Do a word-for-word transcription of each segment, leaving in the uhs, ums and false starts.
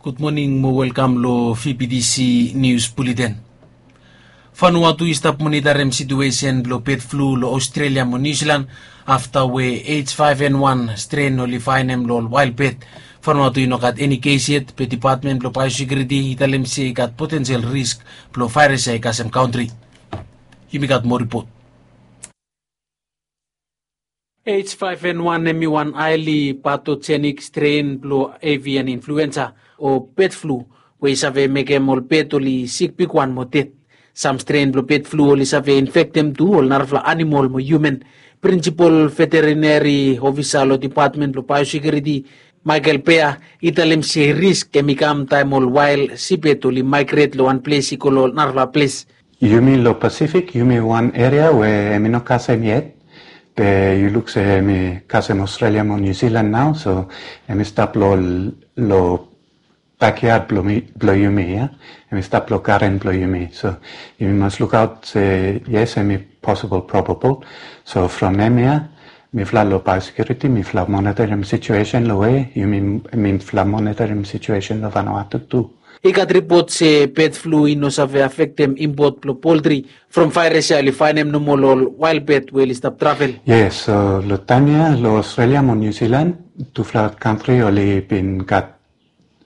Gud moning mo welkam lo V B T C News Bulletin. Vanuatu i stap monitarim situesen blo bed flu lo Australia mo New Zealand afta we H five N one stren oli faenem lo ol wael bed. Vanuatu i no gat eni kes yet, be Depatmen blo Biosekuriti i talem se i gat potensel risk blo vaeras ya i kasem kantri. Yumi gat moa ripot. H five N one hem i wan haeli patojenik stren blo avian influensa o bed flu we i save mekem ol pet oli sik bigwan mo ded. Sam stren blo bed flu oli save infektem tu ol narafala anamol mo hiuman. Prinsipol veterineri ofisa lo Depatmen blo Biosekuriti, Michael Pea, i talem se risk hem i kam taem ol wael sipet oli maegret lo wan ples i go lo narafala ples. Yumi lo Pasifik, yumi wan eria we hem i no kasem yet, be yu luk se hem i kasem Australia mo New Zealand nao, so hem i stap lo, lo bakyad blo mi, blo yumi, ya. Hem i stap lo garen blo yumi. So yumi mas lukaot se yes, hem i posibol, probabol. So from hemia, mifala lo Biosekuriti, mifala monitarim situesen lo we, yumi, mifala monitarim situesen lo Vanuatu tu. I gat ripot se bed flu i no save afektem impot blo poltri from vaeras ya oli faenem nomo lo ol wael bed we oli stap travel. Yes, so lo taem ya lo Australia mo New Zealand, tufala kantri oli bin gat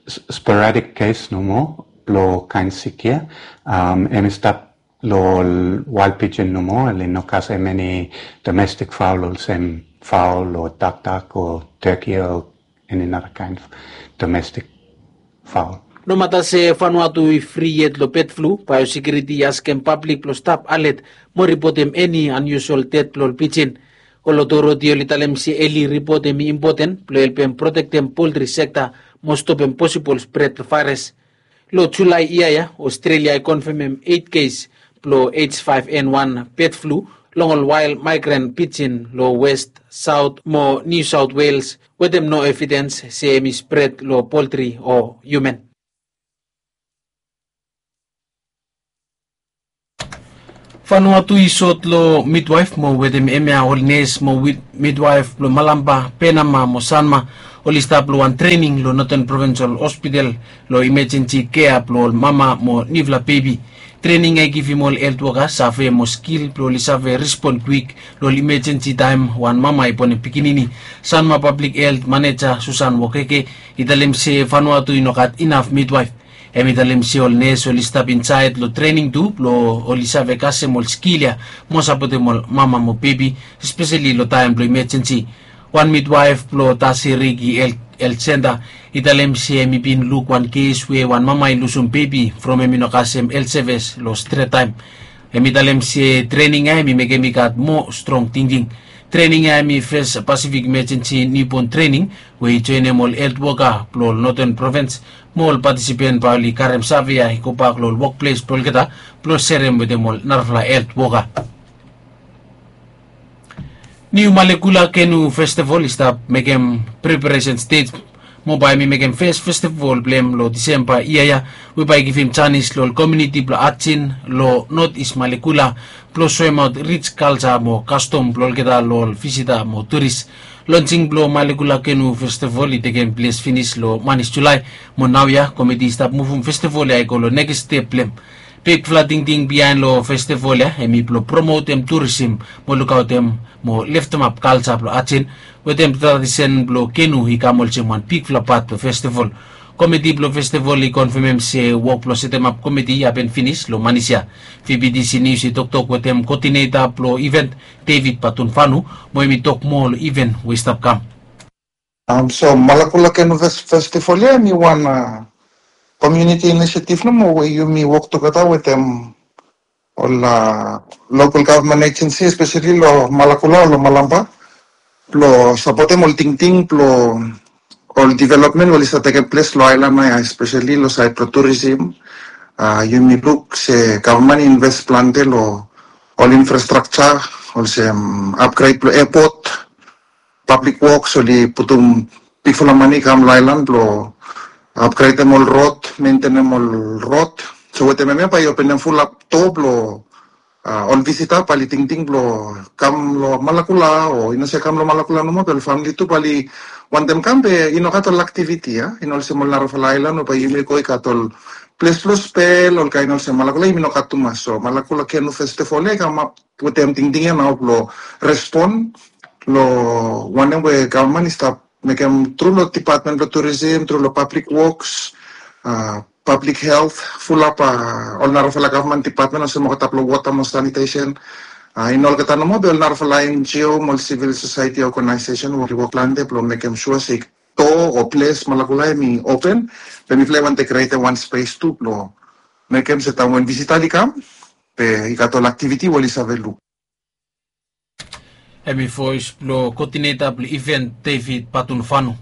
s-, sporadik kes nomo blo kaen sik ya. Um, hem i stap lo ol wael pijen nomo, oli no kasem eni domestik faol olsem faol o dakdak o teki o eni nara kaen domestik faol. Nomata se Vanuatu i fri yet lo bed flu, Biosekuriti i askem pablik blo stap alet mo ripotem eni anyusual ded blo ol pijen. Ol otoriti oli talem se eli ripot hem i impoten blo helpem protektem poltri sekta mo stopem posibol spred blo vaeras. Lo Julae yia ya, Australia i konfemem eit kes blo H five N one bed flu long ol wael maegran pijen lo West, Saot mo New South Wales wetem no evidens se hem i spred lo poltri o hiuman. Vanuatu i sot lo midwaef mo wetem hemia ol nes mo midwaef blo Malampa, Penama mo Sanma oli stap lo wan trening lo Northern Provincial Hospital lo imejensi kea blo ol mama mo niufala bebi. Trening ya i givim ol helt woka save mo skil blo oli save respon kwik lo ol imejensi taem wan mama i bonem pikinini. Sanma Pablik Helt Maneja Susan Wokeke i talem se Vanuatu i no gat inaf midwaef. Hem i talem se ol nes oli stap insaed lo trening tu blo oli save kasem ol skil ya mo sapotem ol mama mo bebi, espeseli lo taem blo imejensi. Wan midwaef blo Tasiriki Helt, Helt Senta i talem se hem i bin luk wan kes we wan mama i lusum bebi from hem i no kasem helt sevis lo stret taem. Hem i talem se trening ya hem i mekem i gat moa strong tingting. Trening ya hem i fes Pacific Emergency Newborn Training we i joenem ol helt woka blo ol Northern Province mo ol patisipen bae oli karem save ya i gobak lo ol wokples blo olgeta blo serem wetem ol narafala helt woka. Niu Malekula Kenu Festival i stap mekem preparesen stej mo bae hem i mekem fes festival blong hem lo Disemba yia ya, we bae i givim janis lo ol komuniti blo Ajen lo Not Is Malekula blo soemaot rij kalja mo kastom blo olgeta lo ol visita mo turis. Lonsing blo Malekula Kenu Festival i tekem ples finis lo manis Julae, mo naoia komiti i stap muvum festival ya i go lo nekis step blong hem. Bigfala tingting biaen lo festival ya hem i blo promotem turisim mo lukaotem mo leftemap kalja blo Ajen, wetem tradisen blo kenu i kam olsem wan bigfala pat blo festival. Komiti blo festival i konfemem se wok blo setemap komiti i hapen finis lo manis ya. V B T C News i toktok wetem koodineta blo iven, David Batunfanu, mo hem i tok moa lo iven we i stap kam. Um, so Malakula Kenu Fes-, Festival ya hem i wan, uh, community initiative nomo we yumi wok tugeta wetem ol, uh, local government agency, especially lo Malakula o lo Malampa, blo sapotem ol tingting blo ol development we oli stap tekem ples lo aelan ya, especially lo saed blo turisim. Uh, yumi luk se gavman i inves plante lo ol infrastructure, olsem upgrade blo airport, public works, oli putum bigfala mane i kam lo aelan blo upgradem ol rod, mentenem ol rod. So wetem hemia bae i openem fulap doa blo, uh, ol visita bae oli tingting blo kam lo Malakula, o i no se kam lo Malakula nomo, be ol famili tu bae oli wantem kam be i no gat ol aktiviti ya, i no olsem ol narafala aelan we bae yumi go i gat ol ples blong spel, ol kaen olsem. Malakula yumi no gat tumas, so Malakula Kenu Festival ya i kamap wetem tingting ya nao blong respon long wanem we gavman i stap mekem tru long dipatmen blong turisim, tru long pablik woks, pablik helt, fulap ol narafala gavman dipatmen olsem olgeta blong wota mo sanitesen. I no olgeta nomo be ol narafala NGO mo ol sivil sosaeti ogenaesesen we oli wok plante blong mekem sua se do o ples Malakula hemi open, be mifala i wantem krietem wan spes tu blong mekem se taem wen visita oli kam be i gat ol aktiviti we oli save luk. Hemi voes blong koodineta blong iven David Patunufanu.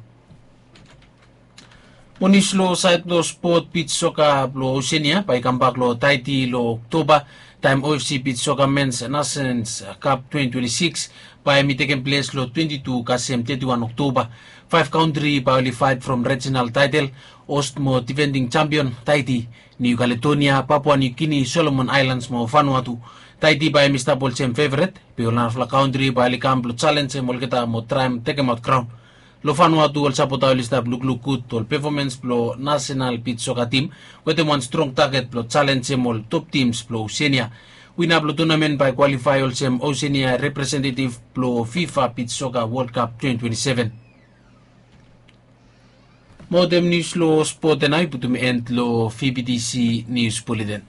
Mo nius long saed blong spot, bij soka blong Osenia bae i kambak long Taiti long Oktoba, taem OFC bij soka mens Nations Cup twenty twenty-six bae hemi tekem ples long twenty-two kasem thirty-one Oktoba. Faef kantri bae oli faet from rijinal taetel, host mo difending jampion Taiti, Niu Kaledonia, Papua Niu Gini, Solomon Aelans mo Vanuatu. Taiti bae hemi stap olsem feveret, be ol narafala kantri bae oli kam blong jalenjem olgeta mo traem tekemaot graon. Long Vanuatu ol sapota oli stap lukluk gud ol pefomens blong nasenal bij soka tim, wetem wan strong taget blong jalenjem ol top tims blong Osenia. Wina blong tunamen bae i kwalifae olsem Osenia representetiv blong FIFA bij soka Wol Kap twenty twenty-seven. Mo wetem nius long spot ya nao i putum en long VBTC Nius Buleten.